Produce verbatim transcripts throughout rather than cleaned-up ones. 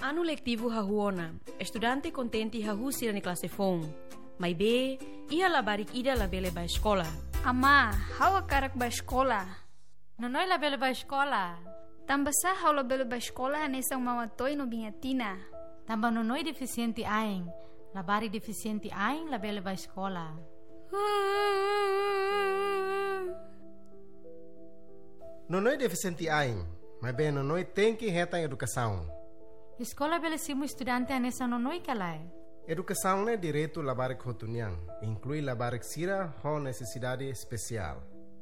Anu letivu hahú ona, estudante kontente hahú sira-nia klase foun. Maibé, iha labarik ida labele bá eskola. Amá, ha'u hakarak bá eskola. Nonoi labele bá eskola. Tanbasá ha'u labele bá eskola hanesan Mama Toy no Biña Tina? Tanba Nonoi defisiente ain. Labarik defisiente ain labele bá eskola. Nonoi defisiente ain, maibé Nonoi tenke hetan edukasaun. Eskola bele simu estudante hanesan Nonoi ka lae? Edukasaun ne'e direitu labarik hotu nian, inklui labarik sira ho nesesidade espesiál.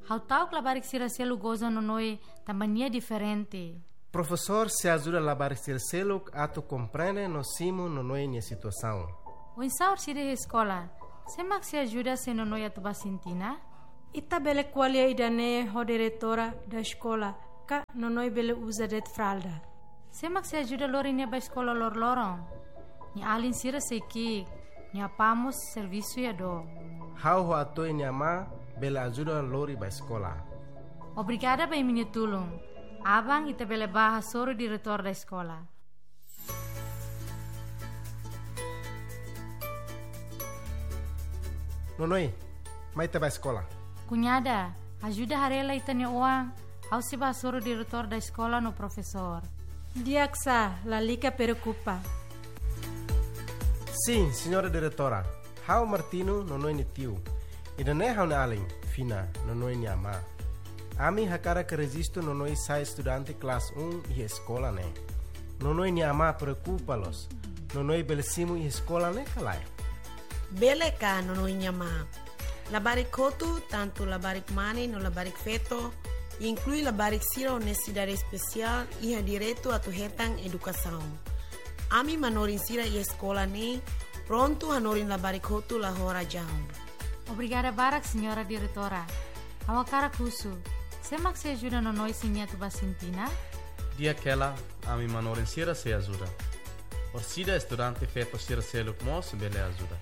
Ha'u ta'uk labarik sira seluk goza Nonoi tanba nia diferente. Profesór sei ajuda labarik sira seluk atu komprende no simu Nonoi nia situasaun. Oinsá orsida iha eskola, sé mak sei ajuda se Nonoi atu bá sintina? Ita bele ko'alia ida-ne'e ho diretora da eskola, ka Nonoi bele uza de'it fralda. Sé mak sei ajuda lori nia bá eskola loroloron? Nia alin sira sei ki'ik, nia apá mós servisu iha dook. Ha'u ho Atoy nia amá bele ajuda lori bá eskola. Obrigada ba imi-nia tulun. Aban ita bele bá hasoru diretór da eskola. Nonoi, mai ita bá eskola. Kuñada, ajuda haree lai ita-nia oan, ha'u sei bá hasoru diretór da eskola no profesór. Di'ak sá, lalika preokupa. Sin, señora diretora. Ha'u Martino, Nonoi nia tiu. Ida-ne'e ha'u-nia alin, Fina, Nonoi nia amá. Ami hakarak rejistu Nonoi sai estudante klase um iha eskola ne'e. Nonoi nia amá preokupa loos. Nonoi bele simu iha eskola ne'e ka lae? Bele ka, Nonoi nia amá? Labarik hotu, tantu labarik mane no labarik feto, inklui labarik sira ho nesesidade espesiál, iha direitu atu hetan edukasaun. Ami manorin sira iha eskola ne'e prontu hanorin labarik hotu la ho razaun. Obrigada barak, señora diretora. Ha'u hakarak husu, sé mak sei ajuda Nonoi se nia atu bá sintina? Di'ak hela, ami manorin sira sei ajuda. Orsida estudante feto sira seluk mós bele ajuda.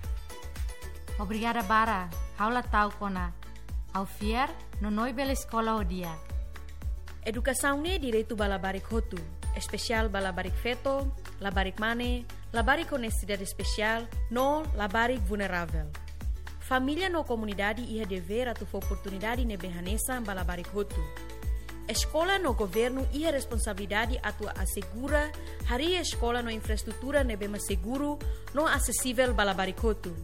Obrigada barak, ha'u la ta'uk ona. Ha'u fiar, Nonoi bele eskola ho di'ak. Edukasaun ne'e direitu ba labarik hotu, espesiál ba labarik feto, labarik mane, labarik ho nesesidade espesiál, no labarik vulneravel. Família no komunidade iha devér atu fó oportunidade ne'ebé hanesan ba labarik hotu. Eskola no governu iha responsabilidade atu asegura harii eskola no infraestrutura ne'ebé mak seguru no asesivel ba labarik hotu.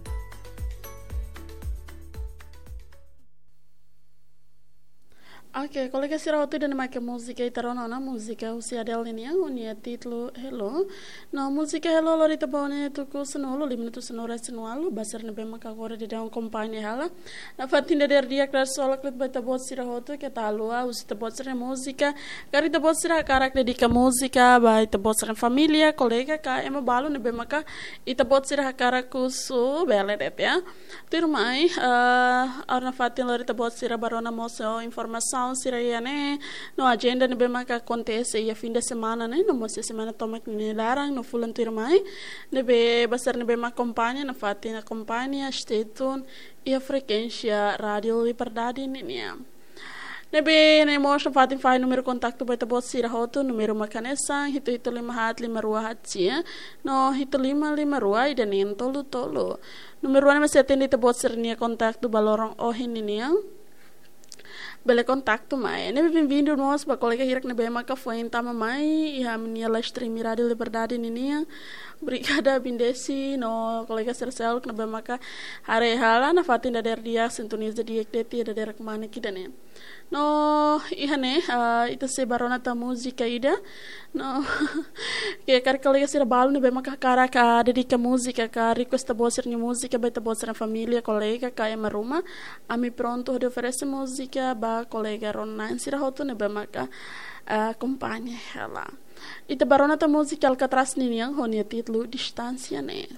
Oke, kolega sira hotu, ida-ne'e mak múzika ita rona ona, múzika husi Adele nian, ho nia títulu Hello. No múzika Hello lori ita ba ne'e tuku sanulu, lima minutu sanulu-resin-ualu, ba sira ne'ebé mak agora daudaun akompaña hela. Nafatin dadeer di'ak, dadeer-san loos ba ita-boot sira hotu, keta haluha husu ita-boot sira múzika. Karik ita-boot sira hakarak dedika múzika ba ita-boot sira família, kolega ka ema balu ne'ebé maka ita-boot sira hakarak husu, bele de'it, ya. Tuirmai, eh, agora nafatin lori ita-boot sira bá rona mós informasaun sira iha ne'e, no ajenda ne'ebé maka akontese iha fin de semana ne'e, no mós semana tomak nia laran, no fulan tuirmai. Ne'ebé ba sira ne'ebé mak akompaña, nafatin akompaña, stay tune iha frekuénsia Rádiu Liberdade ninian. Ne'ebé ne'e mós nafatin fahe númeru kontaktu ba ita-boot sira hotu, númeru mak hanesan, hitu hitu lima haat lima rua haat sia, no hitu lima lima rua ida neen tolu tolu. Númeru ne'e mak sei atende ita-boot sira-nia kontaktu ba loron ohin ninian. Bele kontaktu mai. Ne'ebé benvindu mós ba kolega hirak ne'ebé maka foin tama mai iha ami-nia live stream Rádiu Liberdade ninian. Obrigada Bindesi no kolega sira seluk ne'ebé maka haree hela, nafatin dadeer di'ak, sintoniza di'ak de'it iha dadeer-saan ida-ne'e. No iha ne'e, ah, ita sei bá rona tan múzika ida. No, ke karik kolega sira balu ne'ebé maka hakarak, ah, dedika múzika ka request ita-boot sira-nia múzika ba ita-boot sira família, kolega ka ema ruma, ami prontu hodi oferese múzika ba kolega rona-na'in sira hotu ne'ebé maka, ah, akompaña hela. Ita bá rona tan múzika Alcatraz ninian ho nia títulu Distánsia ne'e.